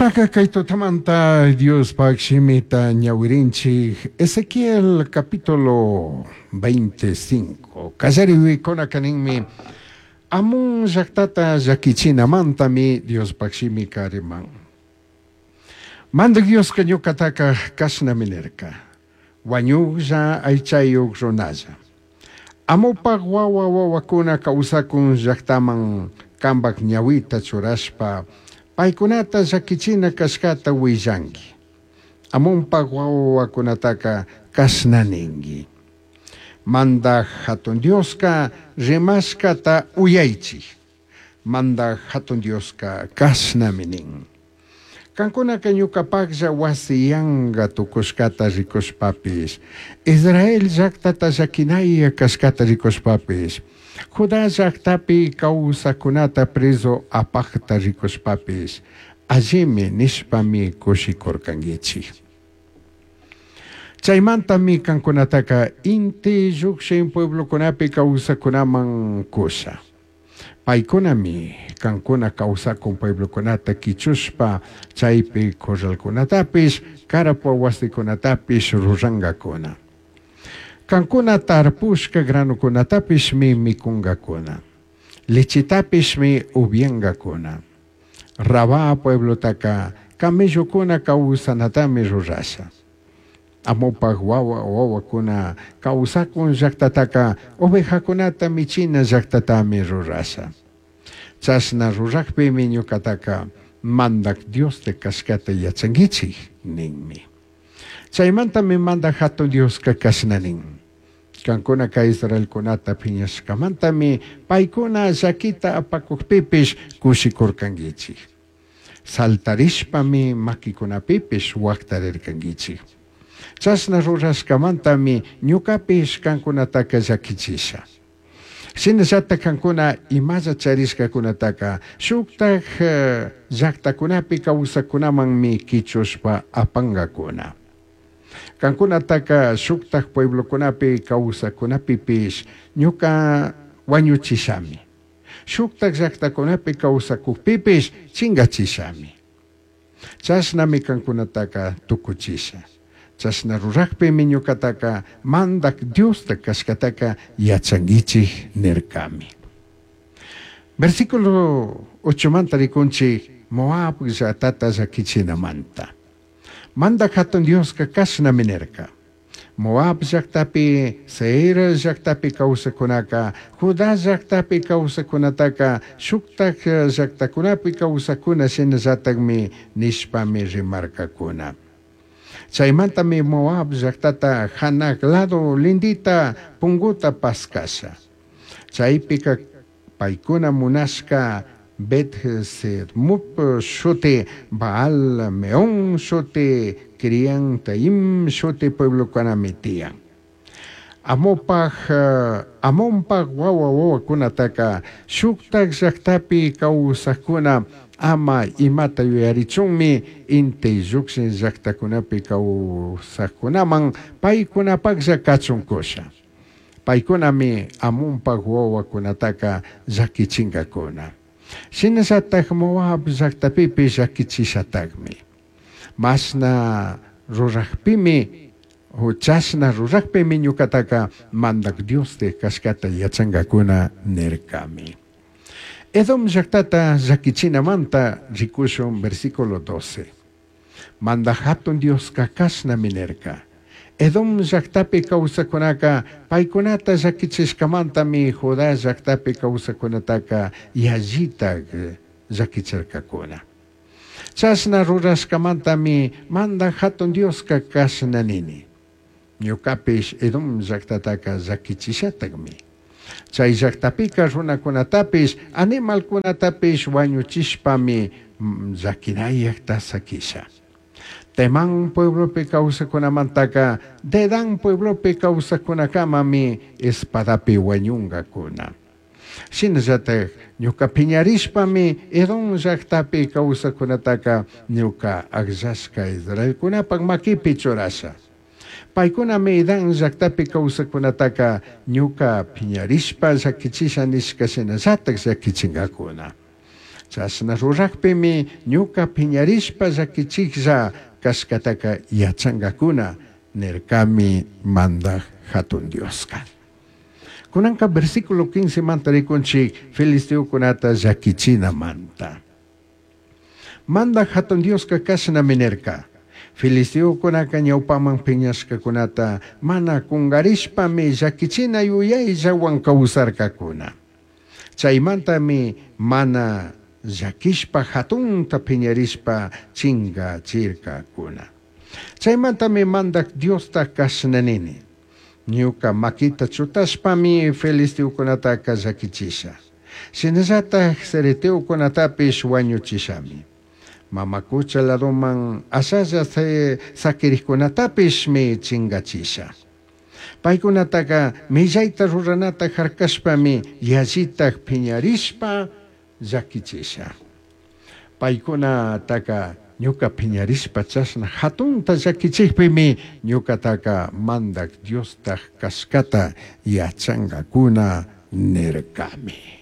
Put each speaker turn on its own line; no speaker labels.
Nishpaca kay tutamanta Diospaj shimita ñawirinchij Ezequiel capítulo 25. Kallarikunaka ninmi Amón llajtata llaquichinamantami Diospaj shimika riman. Mandaj Dioska ñucataca cashnami nirca. Huañujlla aichayuj runalla. Amopaj wawa wawakuna kawsakun llajtaman kambaj ñawita churashpa paykunata llakichina kashkata willanki. Amonpaj wawa wawakunataka kashna ninki. Mandaj Jatun Dioska rimashkata uyaichij. Mandaj Jatun Dioska kashnami nin. Kankunaka ñucapajlla wasi yanga tucushcata ricushpapish, Israel llajtata llaquinaya cashcata ricushpapish, Judá llajtapi causajcunata prezu apajta ricushpapish, allimi nishpami cushicurcanguichij. Chaimantami cancunataca inti llujshin pueblocunapi causajcunaman cusha. Paicunami cancuna causacun pueblocunata quichushpa chaipi corralcunatapish, carpa huasicunatapish rurangacuna. Cancuna tarpushca granocunatapishmi micungacuna. Lechetapishmi ubyangacuna. Rabá pueblotaca camellocuna causanatami rurasha. Amopaj wawa wawakuna causacun llajtataca ovejacunata michina llajtatami rurasha. Chashna rurajpimi ñucataca Mandaj Diosta cashcata yachanguichij ninmi. Chaimantami Mandaj Jatun Dioska cashna nin. Cancunaca Israelcunata piñashcamantami paicuna llaquita apacujpipish cushicurcanguichij. Saltarishpami maquicunapipish huajtarircanguichij. Chashna rurashcamantami ñucapish cancunataca llaquichisha. Shinallataj cancuna imalla charishcacunataca shujtaj llajtacunapi causajcunamanmi quichushpa apangacuna. Cancunataca shujtaj pueblocunapi causajcunapipish ñuca huañuchishami. Shujtaj llajtacunapi causacujpipish chingachishami. Chashnami cancunataca tucuchisha. Chashna rurajpimi ñucataca Mandaj Diosta cashcataca yachanguichij nircami. Versículo 8manta ricunchij Moab llajtata llaquichinamanta. Mandaj Jatun Dioska cashnami nirca. Moab llajtapi, Seir llajtapi causajcunaca, Judá llajtapi causajcunataca, shujtaj llajtacunapi causajcuna shinallatajmi nishpami rimarcacuna. Chaimantami Moab llajtata janaj lado lindita punguta pascasha. Chaipica paicuna munashca Bet-Jeshimot shuti, Baal Meón shuti, Kiriataim shuti pueblocunami tiyan. Amopaj, Amonpaj wawa wawacunataca shujtaj llajtapi causajcuna ama imata yuyarichunmi inti llujshin llajtacunapi causajcunaman paicunapajlla cachun cusha. Paicunami Amonpaj wawacunataca llaquichingacuna. Shinallataj Moab llajtapipish llaquichishatajmi. Mashna rurajpimi, chashna rurajpimi ñucataca Mandaj Diosta cashcata yachangacuna nircami. Edom llajtata llaquichinamanta ricushun versículo 12. Mandaj Jatun Dioska cashnami nirca. Edom llajtapi causajcunaca paicunata llaquichishcamantami Judá llajtapi causajcunataca yallitaj llaquichircacuna. Chashna rurashcamantami Mandaj Jatun Dioska cashna nini. Ñucapish Edom llajtataca llaquichishatajmi. Chai llajtapica runacunatapish, animalcunatapish huañuchishpami llaquinayajta saquisha. Temán pueblopi causajcunamantaca Dedán pueblopi causajcunacamami espadapi huañungacuna. Shinallataj ñuca piñarishpami Edom llajtapi causajcunataca ñuca agllashca Israelcunapaj maquipi churasha. Paicunami Edom llajtapi causajcunataca ñuca piñarishpa llaquichisha nishca shinallataj llaquichingacuna. Chashna rurajpimi ñuca piñarishpa llaquichijlla cashcataca yachangacuna nircami Mandaj Jatun Diosca. Cunanca versículo 15 manta ricunchij filisteocunata llaquichinamanta. Mandaj Jatun Diosca cashnami nirca. Filisteocunaca ñaupaman piñashcacunata mana cungarishpami llaquichina yuyaillahuan causarcacuna. Chaimantami mana llaquishpa jatunta piñarishpa chingachircacuna. Chaimantami Mandaj Diosta cashna nini. Ñuca maquita chutashpami filisteocunataca llaquichisha. Shinallataj cereteocunatapish huañuchishami. Mama cucha ladoman ashalla saquirijcunatapishmi chingachisha. Paicunataca millaita ruranata jarcashpami yallitaj piñarishpa llaquichisha. Paicunataca ñuca piñarishpa chashna jatunta llaquichijpimi ñucataca Mandaj Diostaj cashcata yachangacuna nircami.